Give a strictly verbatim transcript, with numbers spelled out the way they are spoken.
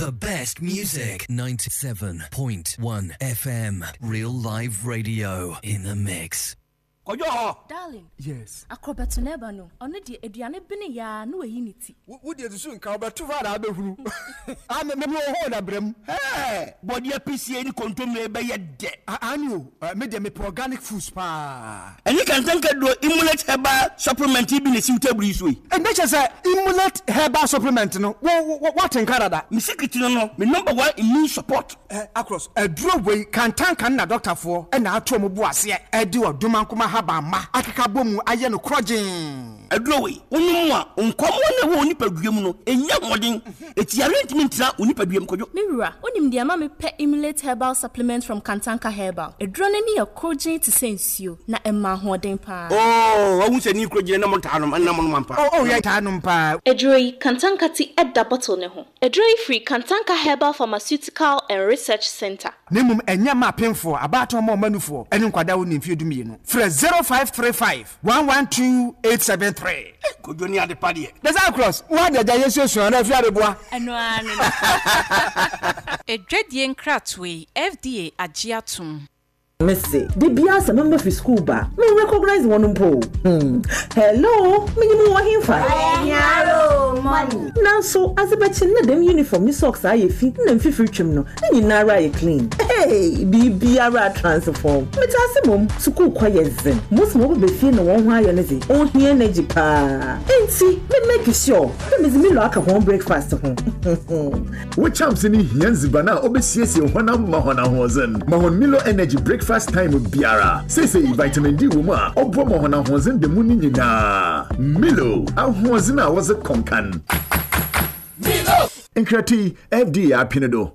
The best music. ninety-seven point one F M. Real live radio in the mix. Kɔdwo hɔ. Darling. Yes. Akorɔbɛto no ɛba no, ɔno deɛ, aduane bene yaa na wayi ne ti. Wo deɛ, susu nka wobɛto hɔ a na wobɛhunu. Ah, me me wɔ hɔ na brɛ mu. Ɛɛ, bɔdeɛ pisie ne kontommire bɛyɛ dɛ. Ani o, me deɛ, mepɛ organic foods paa. Ɛne Kantanka duro Imulate herbal supplement yi bi na esiw table yi so yi. Ɛnɛ kyɛ sɛ Imulate herbal supplement no, wo wo woate nka dada. Me secret no no me number one immune support. Ɛ, Across aduro wei, Kantanka no na dɔktafoɔ ɛna ato ɔmo bo aseɛ ɛde ɔdomankoma haban akeka bɔ mu ayɛ no korɔgyee. Aduro wei, wonom a, nkɔmmɔ na ɛwɔ wo nipadua mu no ɛnya ahoɔden, ɛti yare ntumi ntena wo nipadua mu, Kɔdwo. Me wura, wonim deɛ ma mepɛ Imulate herbal supplement from Kantanka Herbal? Aduro no ani yɛ korɔgyee te sɛ nsuo na ɛma ahoɔden paa. Oo, wahu sɛ ne kuro gyina na mo taa nom ɛna mo nom ampa. Oh oh yɛ taa nom paa. Aduro yi, Kantanka ti ɛda bottle ne ho. Aduro yi firi Kantanka Herbal Pharmaceutical and Research Center. Na mmom ɛnyɛ ma apemfoɔ, abaatan ma ɔmanufoɔ ɛne nkwadaa wo ne mfeɛ du mmienu. Frɛ zero five three five one one two eight seven three. Kɔdwo ne ade pa deɛ. Desa Across wo ade agya yɛsuasua na afi adeboa. Ɛno ara no no. Edwadie nkratoɔ yi, F D A agye atom. Mese de biara sɛ mema fi school ba, me recognize wɔn mpo. hmm. Hello, menyim wɔ hemfa? Nanso adze bɛkye na dɛm uniform ne socks ayɛ fi na mfifiri twam no ne nyinara ayɛ clean. Hey, biribiara transform. Mete ase mom sukuu kɔ yɛ zen most ma wɔbɛbɛ fie na wɔn ho ayɛ no dze ɔhia energy paa, enti me make sure dɛ medze Milo aka wɔn breakfast ho. Wo champs ne hia nziban a ɔbɛsiesie honam ma hɔn ahoɔdzen. Ma hɔn Milo Energy breakfast time biara. Seesei vitamin D wɔ mu a ɔboa ma hɔn ahoɔdzen da mu no nyinaa. Milo, ahoɔdzen a wɔdze kɔnkan. Nkrati, F D A apene do.